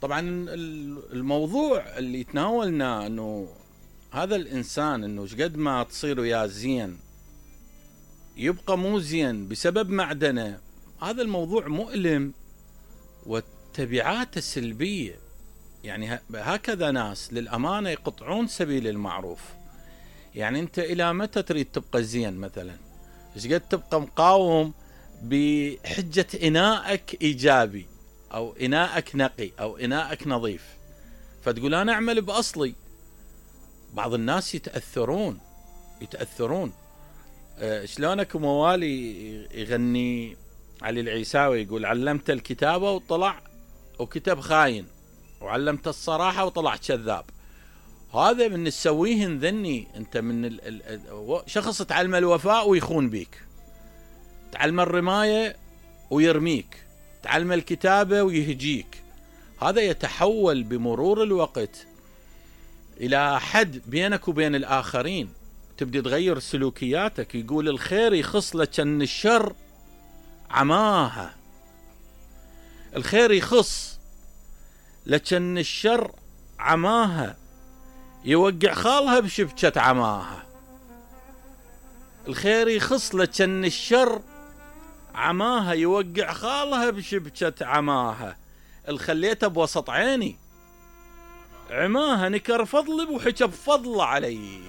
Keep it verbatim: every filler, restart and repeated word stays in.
طبعا الموضوع اللي تناولنا انه هذا الانسان انه شقد ما تصير وياه زين يبقى مو زين بسبب معدنه، هذا الموضوع مؤلم وتبعاته سلبية. يعني هكذا ناس للأمانة يقطعون سبيل المعروف. يعني أنت إلى متى تريد تبقى زين مثلا؟ إيش قد تبقى مقاوم بحجة إناءك إيجابي أو إناءك نقي أو إناءك نظيف، فتقول أنا أعمل بأصلي. بعض الناس يتأثرون يتأثرون أه شلونك موالي يغني علي العيساوي يقول علمت الكتابة وطلع وكتب خاين، وعلمت الصراحة وطلع كذاب. هذا من تسويهن ذني انت من ال ال شخص تعلم الوفاء ويخون بيك، تعلم الرماية ويرميك، تعلم الكتابة ويهجيك. هذا يتحول بمرور الوقت إلى حد بينك وبين الآخرين، تبدي تغير سلوكياتك. يقول الخير يخص لكن الشر عماها، الخير يخص لكن الشر عماها، يوقع خالها بشبكة عماها. الخير يخص لكن الشر عماها، يوقع خالها بشبكة عماها. الخليتها بوسط عيني عماها، نكر فضلي وحكى بفضل علي.